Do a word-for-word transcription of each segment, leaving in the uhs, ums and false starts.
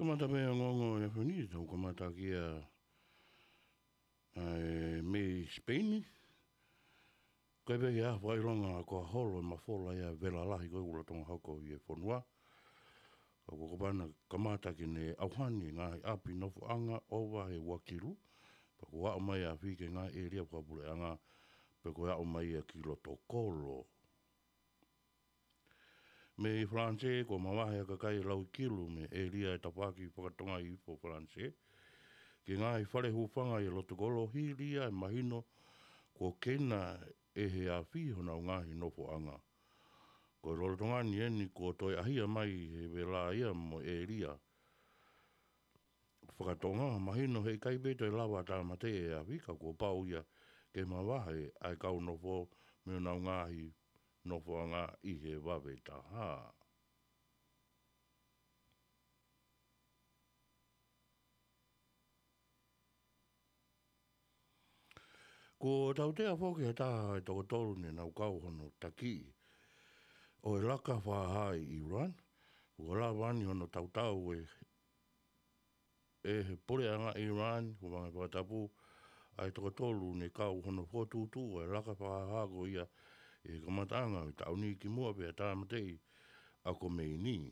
Kamata pē ongoongo ʻi he ʻaho ni, tau kamata kia ʻa e mei Spain. Ko e pē ia fakaʻilonga ko e holo e mafola ia vela lahi ko e ʻoku lolotonga hoko ʻi he fonua. Ka ko e kapana kamata ke ne ʻauhani e ngaahi ʻapi nofoʻanga ʻova he ua kilu. Pea kuo aʻu mai ʻa e afi ki he ngaahi ʻēlia fakapuleʻanga, pea ko e aʻu mai ia ki loto kolo. Mei Falanisē, kuo mavahe ʻa e kakai ʻe lauikilu mei he ʻēlia ʻe tafaʻaki fakatonga ʻi Falanisē ki he ngaahi fale hūfanga ʻi loto kolo, hili ia ʻa e mahino kuo keina ʻe he afi honau ngaahi nofoʻanga. Ko e lolotonga ni eni kuo toe ʻahia mai he vela ia mo e ʻēlia fakatonga, mahino he ʻikai pē toe lava ʻo tāmateʻi ʻe he afi, ka kuo pau ia ke mavahe ʻa e kau nofo mei honau ngaahi nofoʻanga ʻi he vave taha. Kuo tautea foki ha taha ʻe toko tolu ne nau kau hono taki ʻo e laka fakahā ʻi Iran. Kuo lava ni hono tautau ʻe ʻe he puleʻanga Iran, hūfanga he fakatapu, ʻa e toko tolu ne kau hono fokotuʻutuʻu ʻa e laka fakahā ko ia ʻi he kamataʻanga ʻo e taʻu ni kimuʻa pea tāmateʻi ʻa Khomeini.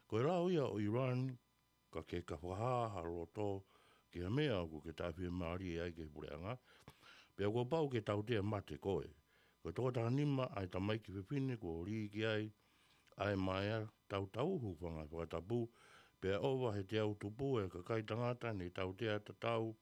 Ko e lao ia ʻo Iran, ka ke ka fakahā ha loto ki ha meʻa ʻoku ke taʻefiemālie ai ki he puleʻanga, pea kuo pau ke tautea mate koe. Ko e toko taha nima ʻa e tamaiki fefine kuo lī ki ai ʻa e maea tautau, hūfanga he fakatapu, pea ʻova he teau tupu ʻa e kakai tangata ne tautea tatau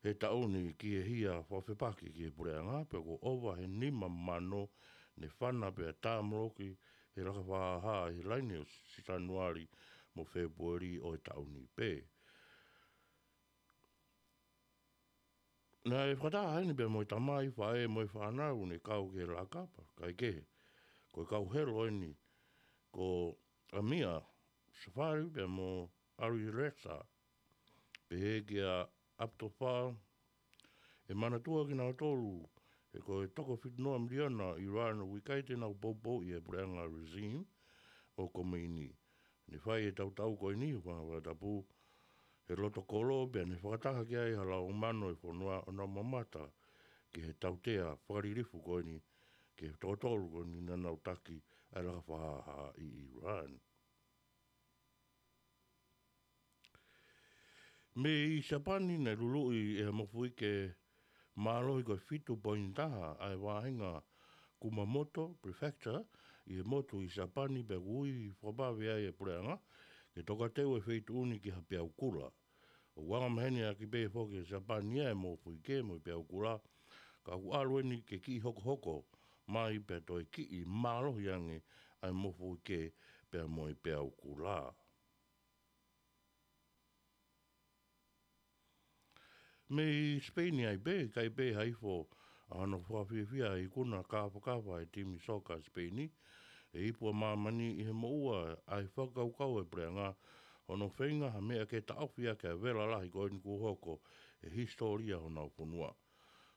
he taʻu ni ki he hia fakafepaki ki he puleʻanga, pea kuo ʻova he nima mano ne fana pea tāmoloki he laka fakahā ʻi he laine ʻo Sānuali mo Fēpueli ʻo e taʻu ni pē. Naʻe fakataha heni pea mo e tamai, faʻē mo e fānau ne kau ki he laka, pea kae kehe, ko e kau helo eni ko ʻAmir Safari pea mo ʻAli Reza, pehē kia ʻAbdullahi. ʻE manatua kinautolu he ko e toko fitu noa miliona ʻi Iran ʻoku ʻikai te nau poupouʻi e puleʻanga regime ʻo Khomeini. Ne fai e tautau ko eni, hūfanga he fakatapu, he loto kolo, pea ne fakataha ki ai ha lau mano ʻo e fonua ʻo nau mamata ki he tautea fakalilifu ko eni ki he toko tolu ko eni naʻa nau taki ʻa e laka fakahā ʻi Iran. Mei Siapani, naʻe luluʻi ʻe he mofuike mālohi ko e fitu poini taha ʻa e vahenga Kumamoto Prefecture ʻi he motu ʻi Siapani, pea ʻoku ui fakavave ai e puleʻanga ke tokateu e feituʻu ni ki ha peau kula. ʻOku anga maheni ʻaki pē foki ʻe Siapani ʻa e mofuike mo e peau kula, ka ʻoku ʻalu eni ke kiʻi hokohoko mai pea toe kiʻi mālohi ange ʻa e mofuike pea mo e peau kula. Mei Sipeini ai pē, ʻikai pē ha ifo ʻa hono fakafiefia ʻa e ikuna kāfakafa ʻa e timi soka Sipeini, ʻe ipu ʻa māmani ʻi he moʻua ʻa e fakakaukau ʻa e puleʻanga, hono feinga ha meʻa ke taʻofi ʻaki ʻa e vela lahi ko eni kuo hoko he hisitōlia honau fonua.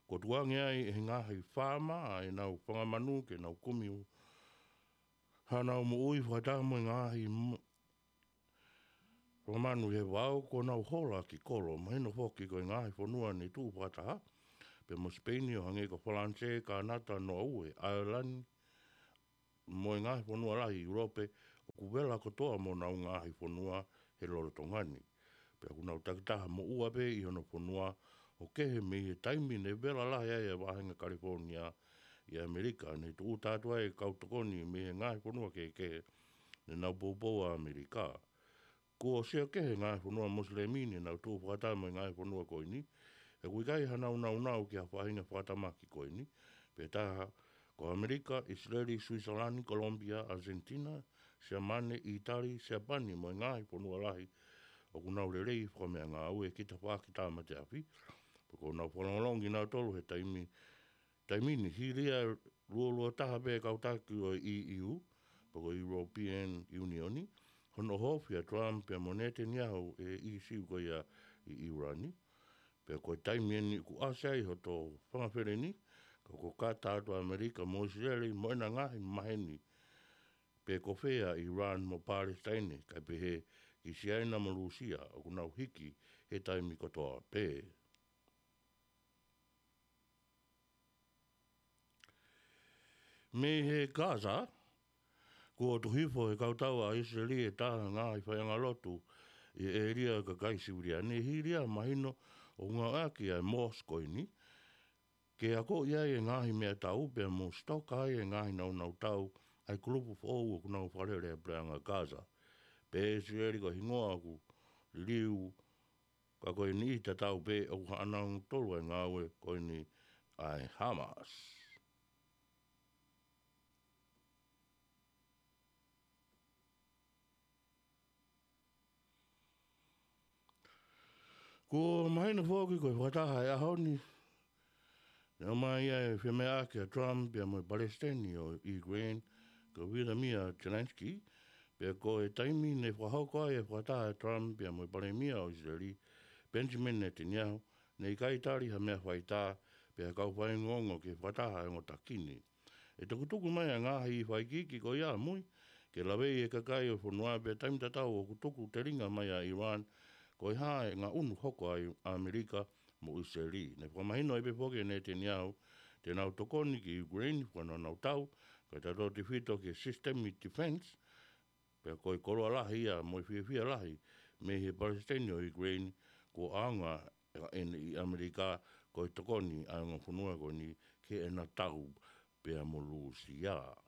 Kuo tukuange ai ʻe he ngaahi faama ʻa ʻenau fanga manu ke nau kumi hanau moʻui fakataha mo e ngaahi mo-, fanga manu ʻi he vao kuo nau hola ki kolo, mahino foki ko e ngaahi fonua ne tuʻu fakataha pē mo Sipeini, ʻo hangē ko Falanisē, Kānata, Noaue, ʻAelani, mo e ngaahi fonua lahi ʻi ʻIulope, ʻoku vela kotoa mo honau ngaahi fonua he lolotonga ni. Pea ʻoku nau takitaha moʻua pē ʻi honau fonua, ʻo kehe mei he taimi ne vela lahi ai ʻa e vahenga Kalefōnia ʻi ʻAmelika, ne tuʻuta atu ai e kau tokoni mei he ngaahi fonua kehekehe ne nau poupou ʻa ʻAmelika. Kuo sio kehe e ngaahi fonua Mosilemi ne nau tuʻu fakataha mo e ngaahi fonua ko eni, he ʻoku ʻikai hanau naunau ki ha faʻahinga fakatamaki ko eni, pea taha ko ʻAmelika, ʻIsileli, Suisalani, Kolomupia, ʻAsenitina, Siamane, ʻItali, Siapani mo e ngaahi fonua lahi ʻoku nau lelei fakameʻangāue ki he tafaʻaki tāmate afi, pea kuo nau fakalongolongo kinautolu he taimi, taimi ni, hili ia ʻe luo lua taha pē e kau taki ʻo e E U, pe ko e European Union, hono ʻohofi ʻa Trump pea mo Netanyahu ʻi he ʻīsiu ko ia ʻi ʻIuani. Pea ko e taimi eni ʻoku ʻasi ai hoto fanga feleni, ka ko e kata atu ʻa ʻAmelika mo ʻIsileli mo ʻena ngaahi maheni pe ko fē ʻa ʻIuani mo Palesitaine, kae pehē ʻi Siaina mo Lūsia ʻoku nau hiki he taimi kotoa pē. Mei he Gaza, kuo tuku hifo he kautau ʻa ʻIsileli e taha ngaahi faiʻanga lotu ʻi he ʻēlia ʻo e kakai siviliani, hili ia mahino ʻoku ngāueʻaki ʻa e mosque ko eni ke akoʻi ai e ngaahi meʻatau pea mo sitoka ai e ngaahi nāunau tau ʻa e kulupu foʻou ʻoku nau fakalele ʻa e puleʻanga Gaza. Pehē ʻe ʻIsileli ko e hingoa ʻoku liliu, ka ko e niʻihi tatau pē ʻoku haʻanau tolu ʻa e ngāue ko eni ʻa e Hamas. Kuo mahino foki ko e fakataha he ʻaho ni, naʻe ʻomai ai e femeʻaʻaki ʻa Trump pea mo e Palesiteni ʻo Ukraine, ko Volodymyr Zelensky, pea ko e taimi ne fakahoko ai e fakataha ʻa Trump pea mo e Palēmia ʻo ʻIsileli, Benjamin Netanyahu, ne ʻikai tali ha meʻa faitā pe ha kau faiongoongo ki he fakataha ʻa e ongo taki ni. ʻE tukutuku mai ʻa e ngaahi faʻa ikiiki ko ia ʻamui ke laveʻi e kakai ʻo e fonua pea taimi tatau ʻoku tuku telinga mai ʻa Iran ko e hā e ngaʻunu hoko ai ʻa ʻAmelika mo ʻIsileli. Ne fakamahino ai pē foki ʻe Netanyahu te nau tokoni ki Ukraine fua naunau tau, kae tautefito ki he sisitemi defense, pea ko e koloa lahi ia mo e fiefia lahi mei he Palesiteni ʻo Ukraine kuo ʻaonga ʻeni ʻi ʻAmelika ko e tokoni ʻa e ongo fonua ko eni ki heʻena tau pea mo Lūsia.